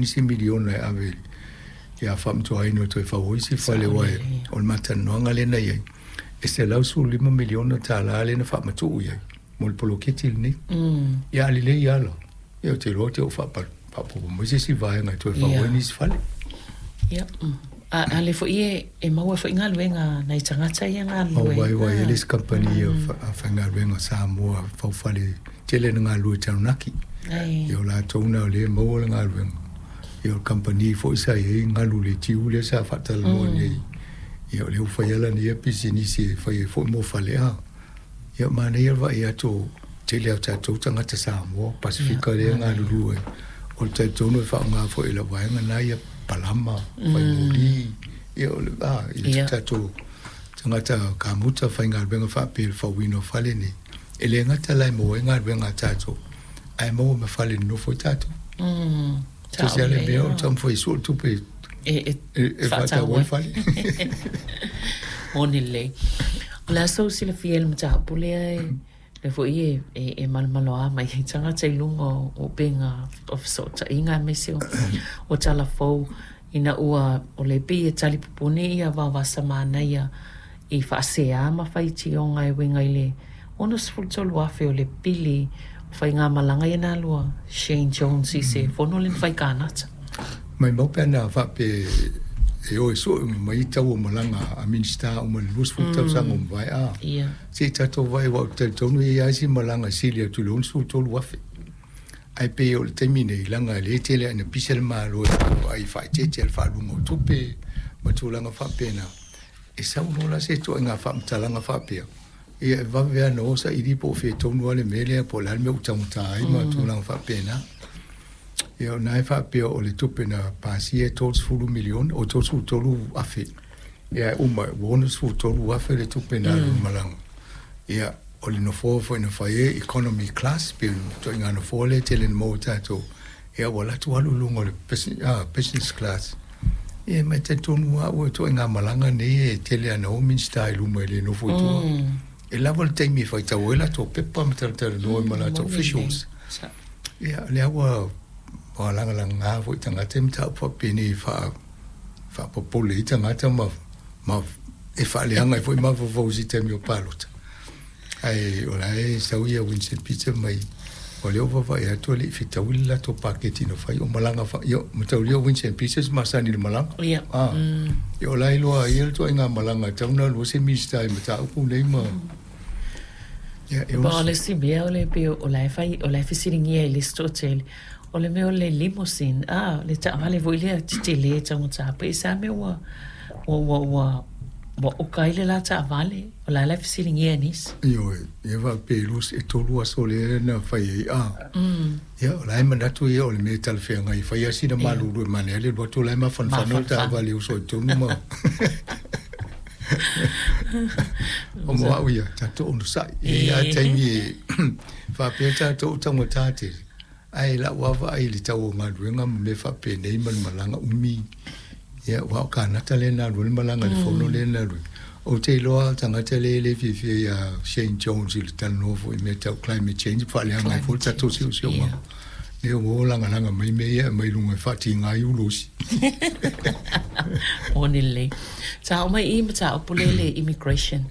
ai nisi miliona e ave ia faamatuaina o toe fau ai isi fale aua o le matalanoaga lea na i ai e $115 miliona lea na faamatuu i ai mo le poloketi lenei. Ia a lelei lava la, ia ou te iloa te i ua faaopoopo mai se isi vaega e toe fau ai nisi fale. Ia, a lea foi e maua foi galuega a nai tagata ia galulue. Maua ai, aua e i ai le isi kamupani faigaluega a Samoa faufale tele na galulue i Taranaki. Ia o latou na o lea e maua le galuega. Ia o le kamupani foi sa i ai galu i le tiu lea sa faatalanoa nei, ia o lea ua fai lava lana ia pisinisi e fai ai foi mo fale. Ia manaia le vaai atu o tele a tatou tagata Samoa, Pasefika lea e galulue ai. O le talitonu e faaaoga foi e lau vaega na ia palama, faimoli, ia o le i le tatou tagata kamuta faigaluega faapea i le fauina o fale nei. E le gata la e maua ai galuega a tatou, ae maua ma fale e nonofo ai tatou. Tasi lava le mea o le taumafai e sue le tupe e faatau ai le fale. Moni lelei. O le a sou silafia i le mataupu lea e lea foi e malomaloa mai ai tagata i luga o upega o fesootaiga aemaise o tala fou ina ua o lea pei e talipupuni ia Vaovasa Manaia i faasea ma faitioga e uiga i le 63,000 o le pili o faigamalaga ia na alu a Shane Jones i se fono lea na fai i Kanata. Maimau pe ana faapea e o e sue uma mai tau o malaga a Minisita uma i le 20 tausaga ua mavae, a se i tatou vaai aua ou te talitonu e i ai lava isi malaga e sili atu i le 63,000. Ae pei o le taimi nei, leaga e le tele lava ina pisa le Malo e vaai faaeteete i le faaaluga o tupe ma tulaga faapena. E sau loa la se ituaiga faamatalaga faapea, ia e vave lava ona o saili po o fea tonu lava le mea lea, po o le a le mea ua taugata ai ma tulaga faapena. Ia o lena e faapea o le tupe na pasia e 30 miliona, o 33 afe. Ia e uma ua 63,000 le tupe na alu i malaga. Ia o le nofoa foi na fai ai economy class, pe o le ituaiga nofoa lea e tele ina maua e tatou, ia ua alu atu alu i luga o le business class. Ia ma e talitonu lava au e ituaiga malaga nei e tele lava ina o Minisita i luma e le nofo i tua. E lava le taimi e faitau ai latou pepa ma talatalanoa ai ma latou officials. Ia lea ua lagalaga foi tagata i mataupu faapenei e faapopole ai tagata ma e faaleaga ai foi mafaufau i se taimi o palota. Ae o la e sau ia Winston Peter mai o lea ua vaavaai atu e le i fetaui le latou paketi na fai o malaga ia mataulia o Winston Peters masani i le malaga. Ia o la e iloa ai le ituaiga malaga e tatau ona alu ai se Minisita i mataupu nei ma ia e Po o le isi mea o le pei o la e fai o la e fesiligia e le isi toatele o le mea o le limousine le taavale foi lea tetele taugata pe i sa mea ua oka ai le la taavale o la la e fesiligia e nisi. Ioe, ia faapea e 3 aso lea na fai ai a. Ia o la e manatu ia o le mea e talafeagai e fai lava sina malulu e manaia le alu atu o la e mafanafana le taavale e uso i totonu ma o mo au ia tatou onosai. E i ai lava taimi e faapea tatou taugata tele, ae lau lava vaai i le tau o galuega ma mea faapenei ma le malaga umi. Ia aua o Kanata lea na alu ai le malaga i le fono lea na alu ai. Ou te iloa tagata lea e le fiafia ia Shane Jones i le talanoa foi i mea tau climate change ma faaleaga ai foi le tatou siosiomaga. Lea ua o lagalaga mai mea ia e aumai i luga e faatiga ai ulo isi. Moni lelei. Sa oo mai i mataupu lea le immigration.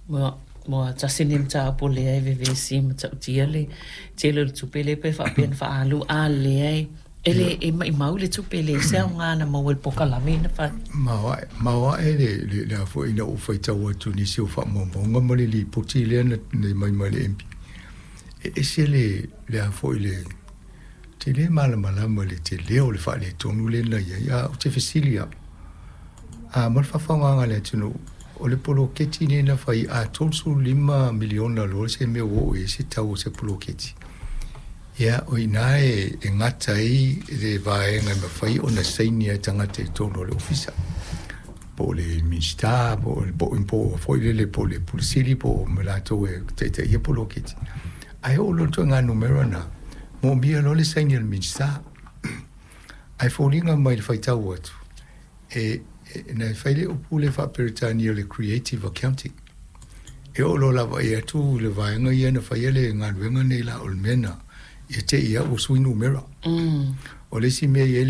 Ua tasi lenei mataupu lea e vevesi ma tautia le tele o le tupe lea pe faapea na faaalu a lea e le e maimau le tupe le se aoga na maua i le polokalame na fai. Maoae le a foi ina ou faitau atu i nisi o faamaumauga ma le lipoti lea na mai mai le MP. E ese le a foi le te le malamalama le tele o le faaletonu lea na i ai. A ou te fesili au, a mo le faafofoga a le atunuu, o le poloketi lea na fai a 35 miliona loa se mea ua oo i ai se tau o se poloketi. Ia, o i ina e gata ai le vaega e mafai ona saini ai tagata i totonu o le ofisa. Po o le Minisita, po o foi lele po o le Pule Sili, po o ma latou e taitaia poloketi. Ae oo loa i le ituaiga numera na, moomia loa le saini a le Minisita. Ae foliga mai le faitau atu, e na fai le upu le faa-Peretania o le creative accounting. E oo loa lava i atu le vaega ia na faia le galuega nei la o le mea na, ia te i lava ua sui numera. O le isi mea e i ai